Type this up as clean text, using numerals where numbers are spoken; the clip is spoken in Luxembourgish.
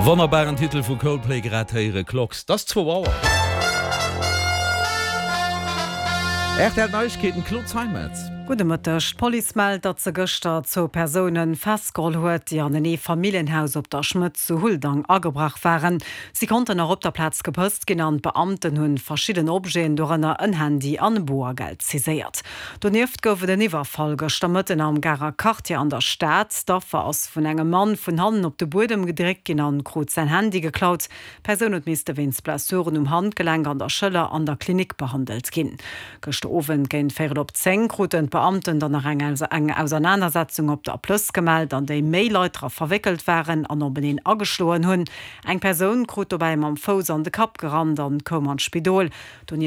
Wonnerbaren Titel vu Coldplay grad héiere Clocks. 't ass zwou Auer. Rtl Neiegkeeten, Claude Zeimetz. Gudde Mëtteg. D'Police mellt, datt se gëschter zwou Persoune festgeholl huet, déi an en Eefamilljenhaus op der Schmëtt zu Huldang agebrach waren. Si konnten nach op der Plaz gepësst ginn an d'Beamten hunn verschidden Objeten, dorënner en Handy an Boergeld, saiséiert. Donieft gouf et en Iwwerfall gëschter Mëtten am Garer Quartier an der Stad. D'Affer ass vun engem Mann vun hannen op de Buedem gedréckt ginn an krut säin Handy geklaut. D'Persoun huet misste wéinst Blessuren um Handgelenk an der Schëller an der Klinik behandelt ginn. Gëschter Owend géint véierel op 10 kruten d'Beamten dann nach eng Ausernanersetzung op der Plëss gemellt, an déi méi Leit dra verwéckelt waren an openeen ageschloen hunn. Eng Persoun krut dobäi mam Fouss an de Kapp gerannt an koum an d'Spidol. Donieft.